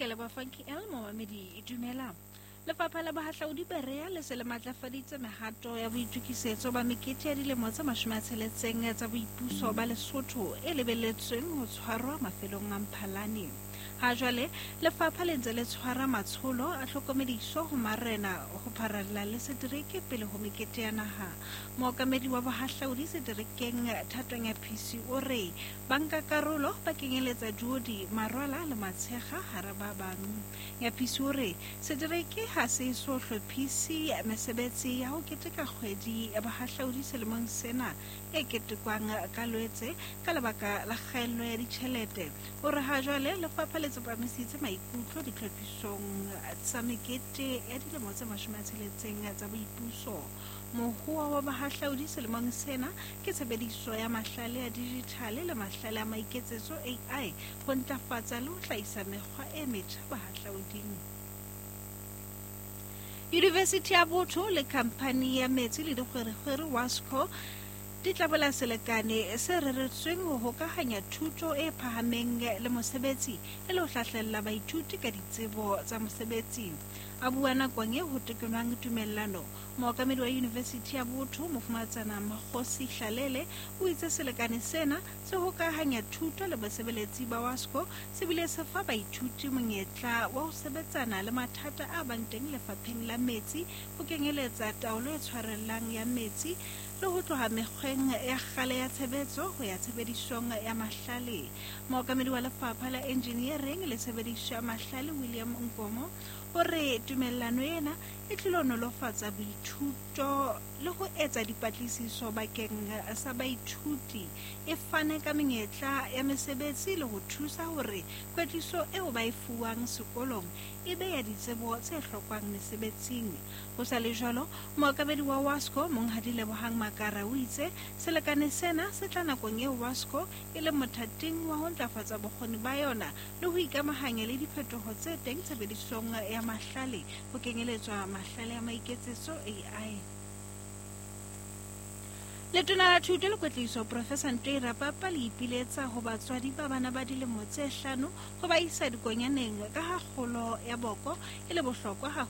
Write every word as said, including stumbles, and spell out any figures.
Ke leboha Funky L momamedi dumela. Lefapha la Bohahlaudi Berea le se le matlafaditse mehato ya boitokisetso ba mekete ya dilemo tse mashome a tsheletseng tsa boipuso ba Lesotho e lebelletsweng ho tshwarwa mafelong a Mphalane. Ha jwale lefapha le ntse le tshwara matsholo a tlhokomediso ho marena ho pharalla le setereke pele ho mekete ya naha. Mookamedi wa bohahlaudi seterekeng Thato Nyaphisi o re bankakarolo ba kenyeletsa Duodi, Marwala le Matshekga hara ba bang. Nyaphisi o re setereke ha se so hlophise mesebetsi ya ho keteka kgwedi ya bohahlaudi selemong sena e ketekwang ka Lwetse ka lebaka la kgaello ya ditjhelete. O re ha jwale lefapha le tsepamisitse maikutlo ditlhophisong tsa mekete ya dilemo tse mashome a tsheletseng tsa boipuso. Mohoa wa bohahlaudi selemong sena ke tshebediso ya mahlale a dijithale le mahlale a maiketsetso A I ho ntlafatsa le ho hlahisa mekgwa e metjha bohahlauding. Yunivesithi ya Botho le khamphani ya metsi le dikgwerekgwere WASCO di tla bola selekane se reretsweng ho hokahanya thuto e phahameng le mosebetsi e le ho hlahlella baithuti ka ditsebo tsa mosebetsi. A bua nakong e ho tekenwang tumellano, mookamedi wa Yunivesithi ya Botho Mofumahatsana Makgosi Hlalele o itse selekane sena se hokahanya thuto le basebeletsi ba WASCO se bile se fa baithuti monyetla wa ho sebetsana le mathata a bang teng lefapheng la metsi ho kenyeletsa taolo e tshwarellang ya metsi le ho tloha mekgweng ya kgale ya tshebetso ho ya tshebedisong ya mahlale. Mookamedi wa lefapha la engineering le tshebediso ya mahlale William Nkomo o re tumellano ena e tlilo nolofatsa boithuto le ho etsa dipatlisiso bakeng sa baithuti, e fane ka menyetla ya mesebetsi le ho thusa hore kwetliso eo ba e fuwang sekolong e be ya ditsebo tse hlokwang mesebetsing. Ho sa le jwalo, mookamedi wa WASCO Monghadi Lebohang Makara o itse selekane sena se tla nakong eo WASCO e leng mothating wa ho ntlafatsa bokgoni ba yona le ho ikamahanya le diphetoho tse teng tshebedisong ya mahlale ho kenyeletswa mahlale a maiketsetso A I. Letona la Thuto le Kwetliso Professor Ntoi Rapapa le ipiletsa ho batswadi ba bana ba dilemo tse hlano ho ba isa dikonyaneng ka ha kgolo ya boko e le bohlokwa ha